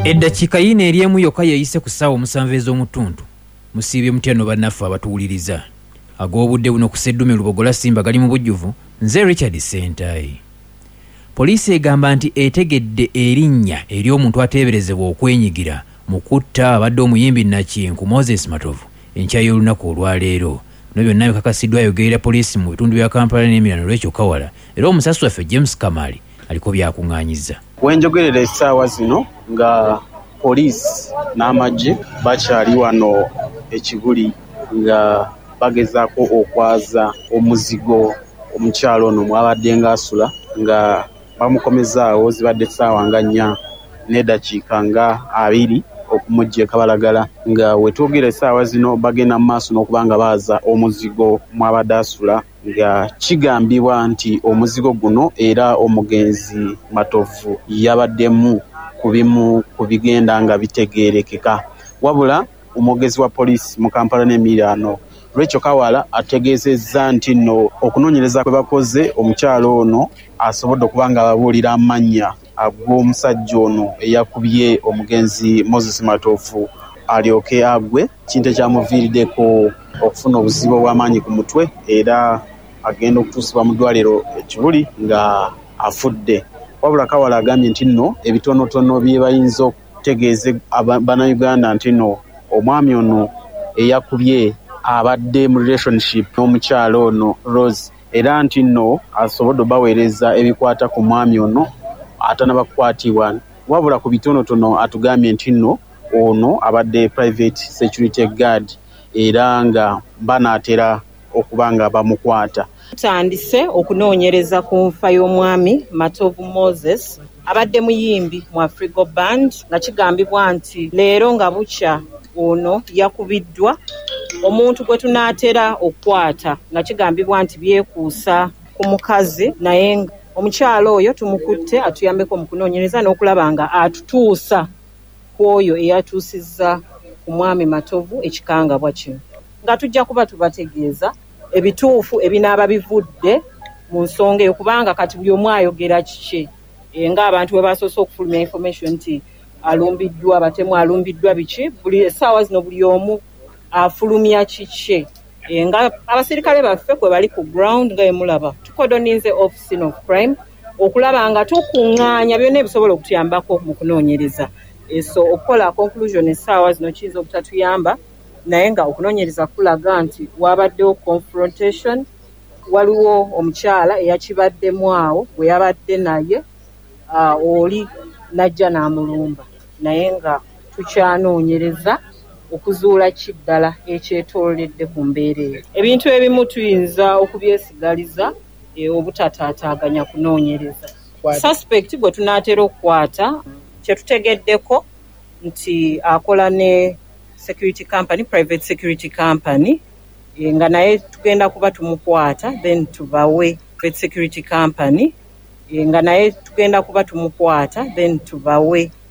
Eddakiika yiino eri emu yokka yeeyise ku ssaawa 7 ez'omu ttuntu. Musiibye mutya nno bannaffe abatuwuliriza? Ag'obudde buno ku Sseddume Lubogola Simba gali mu bujjuvu. Nze Richard Ssentayi. Poliisi egamba nti etegedde erinnya ery'omuntu ateeberezebwa okwenyigira mu kutta abadde omuyimbi Nakinku Moses Matovu enkya y'olunaku olwaleero. Bino byonna bikakasiddwa ayogerera poliisi mu bitundu bya Kampala n'emiriraano Rachel Kawala era omusasi waffe James Kamali aliko by'akung'aanyizza. Wenjogerera esaawa zino nga poliisi n'amagye bakyali wano e Kibuli nga bagezaaku okwaza omuzigo omukyala ono mwabadde nga asula nga bamukomezaawo. Zibadde saawa nga 4 n'edakiika nga 20 okumugya e Kabalagala, nga wetwogera esaawa zino bagenda mu maaso n'okuba nga baaza omuzigo mwabadde asula, nga kigambibwa nti omuzigo guno era omugenzi Matovu yabaddemu ku bimu ku bigenda nga bitegerekeka. Wabula omwogezi wa poliisi mu Kampala n'emiriraano Rachel Kawala ategeezezza nti nno okunoonyereza kwe bakoze, omukyala ono asobodde okuba nga ababuulira amannya ag'omusajja ono eyakubye omugenzi Moses Matovu alyoke agwe, kintu ekyamuviiriddeko okufuna obuzibu obw'amaanyi ku mutwe era agenda okutuusibwa mu ddwaliro e Kibuli nga afudde. Wabula Kawala agambye nti nno ebitonotono bye bayinza okutegeeza bannayuganda nti nno omwami ono eyakubye abadde mu relationship n'omukyala ono Rose, era nti nno asobodde obaweereza ebikwata ku mwami ono atanaba kukwatibwa. Wabula ku bitonotono atugambye nti nno ono abadde private security guard era nga banaatera okuba nga bamukwata. Tutandise okunoonyereza ku nfa y'omwami Matovu Moses abadde muyimbi mu Afrigo Band, nga kigambibwa nti leero nga bukya ono yakubiddwa omuntu gwe tunaatera okukwata, nga kigambibwa nti byekuusa ku mukazi, naye nga omukyala oyo tumukutte atuyambeko mu kunoonyereza n'okulaba nga atutuusa ku oyo eyatuusizza ku mwami Matovu ekikangabwa kino, nga tujja kuba tubategeeza ebituufu ebinaaba bivudde mu nsonga eyo, kubanga kati buli omu ayogera kikye. Ng'abantu bwe basoose okufulumya information nti alumbiddwa batemu, alumbiddwa biki, buli essaawa zino buli omu afulumya kikye. Nga abasirikale baffe kwe bali ku ground, nga bwe mulaba tukodoninze off scene of crime okulaba nga tukuŋŋaanya byonna ebisobola okutuyambako mu kunoonyereza. So okukola conclusion essaawa zino kiyinza obutatuyamba, naye nga okunoonyereza kulaga nti wabaddewo confrontation, waliwo omukyala eyakibaddemu awo gwe yabadde naye, oli n'ajja n'amulumba, naye nga tukyanoonyereza okuzuula ki ddala ekyetoololedde ku mbeera eyo. Ebintu ebimu tuyinza okubyesigaliza obutataataaganya kunoonyereza. Suspect gwe tunaatera okukwata, kye tutegeddeko nti akola ne security company, private security company, nga naye tugenda kuba tumukwata then tubawe private security company, nga naye tugenda kuba tumukwata then tubawe.